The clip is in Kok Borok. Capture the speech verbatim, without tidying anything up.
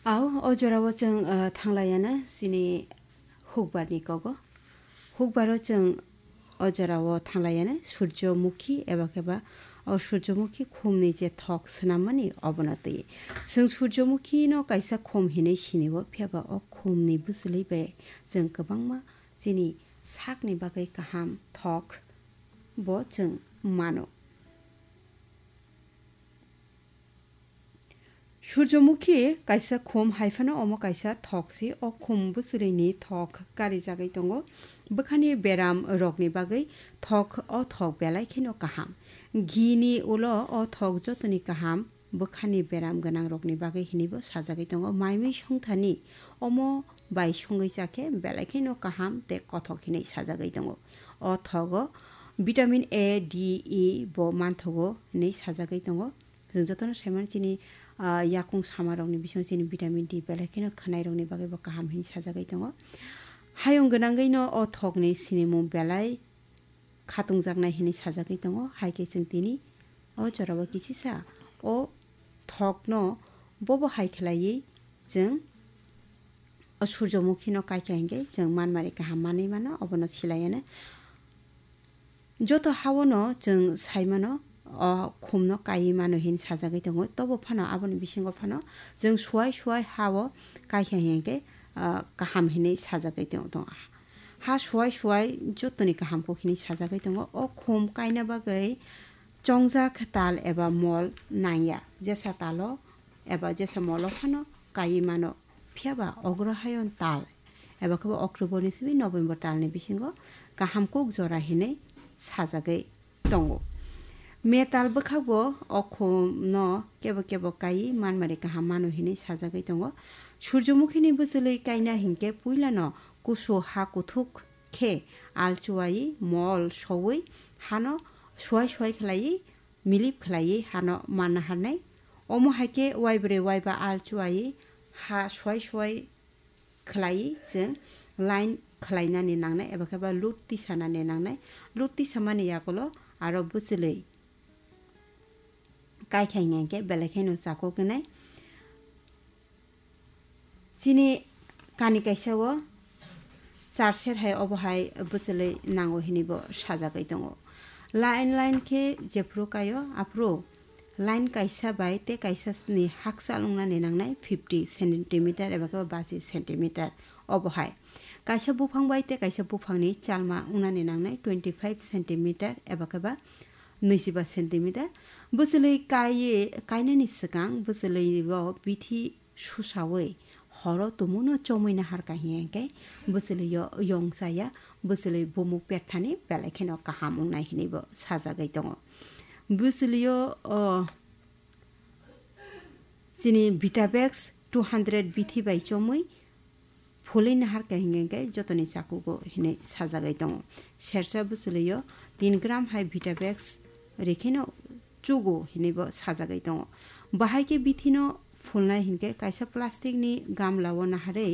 Au, o jorao chwng, ah, thanglaiana chini hukbarni kogo. Hukbaro chwng o jorao thanglaiana Surjomukhi eba khe ba o Surjomukhi khumni je thok swnammani obono twi. Chwng Surjomukhino kaisa khum hinwi sinio, phiya ba o khumni bwchwlwi bai chwng kwbangma chini sakni bagwi kaham thok bo chwng mano. Surjomukhi kaisa khum, hai phano omo kaisa thok se. O khum bwchwlwini thok karijagwi tongo. Bwkhani beram rokni bagwi thok, o thok belai kheno kaham. Ghini ulo o thok jotoni kaham, bwkhani beram gwnang rokni bagwi hinwi bo sajagwi tongo. Mai mui songthani omo bai songwi cha khe belai kheno kaham tei kothok hinwi sajagwi tongo. O thogo vitamin A, D, E bo manthogo hinwi sajagwi tongo. Chwng jotono saimano chini, ah, yakung samarokni bisingo chini vitamin D belai kheno khwnairokni bagwi bo kaham hinwi sajagwi tongo. Hayung gwnangwino o thokni sinimung belai khatungjaknai hinwi sajagwi tongo. Hai khe chwng tini o jorao kisisa o thokno bobo hai khlaiwi chwng o Surjomukhino kaikha hinkhe chwng manmari kaham manwi mano, obono silaiyano. Joto haono chwng saimano, o khumno kaiwi mano hin sajagwi tongo. Tobo phano aboni bisingo phano chwng suwai suwai hao kaikha hinkhe, ah, kaham hinwi sajagwi tong-, tongo. Ha suwai suwai jotoni kaham kok hinwi sajagwi tongo. O khum kaina bagwi chongjak tal eba mol nangya. Jesa talo eba jesa molo phano kaiwi mano. Phiya ba ogrohayong tal eba khe bo October ni simi November talni bisingo kaham kok jora hinwi sajagwi tongo. Metal bwkhakbo o khumno kebo kebo kaiwi manmari kaham mano hinwi sajagwi tongo. Surjomukhini bwchwlwi kaina hinkhe puilano kusu ha kuthuk khe alchuwaiwi mol sowi hano suwai suwai khlaiwi milip khlaiwi hano manna harnai. Omo hai khe waibrwi waiba alchuwaiwi ha suwai suwai khlaiwi chwng line khlainani nangnai eba khe ba lut tisanani nangnai. Lut tisamani yagulo aro bwchwlwi kaikha hinkhe belai kheno chakuk wngnai. Chini kani kaisa o char ser hai obo hai bwchwlwi nango hinwi bo sajagwi tongo. Line line khe jephru kaio aphuru line kaisa bai tei kaisa ni hakchal wngnani nangnai fifty centimeter eba khe baji centimeter obo hai. Kaisa buphang bai tei kaisa buphangni chalma wngnani nangnai twenty five centimeter eba khe ba nwijiba centimeter. Bwchwlwi kaiye, kainani swkang bwchwlwi o bithi susawi horo tumungno chomwi naharkha hinkhe bwchwlwio yong chaya, bwchwlwi bumuk perthani belai kheno kaham wngnai hinwi bo sajagwi tongo. Bwchwlwio, o, chini Vitavex two hundred bithi bai chomwi phulwi naharkha hinkhe jotoni chakugo hinwi sajagwi tongo. Sersa bwchwlwio tin gram hai Vitavex rikheno chugo hinwi bo sajagwi tongo. Bahai khe bithino phulnai hinkhe kaisa plastic ni gamla o naharwi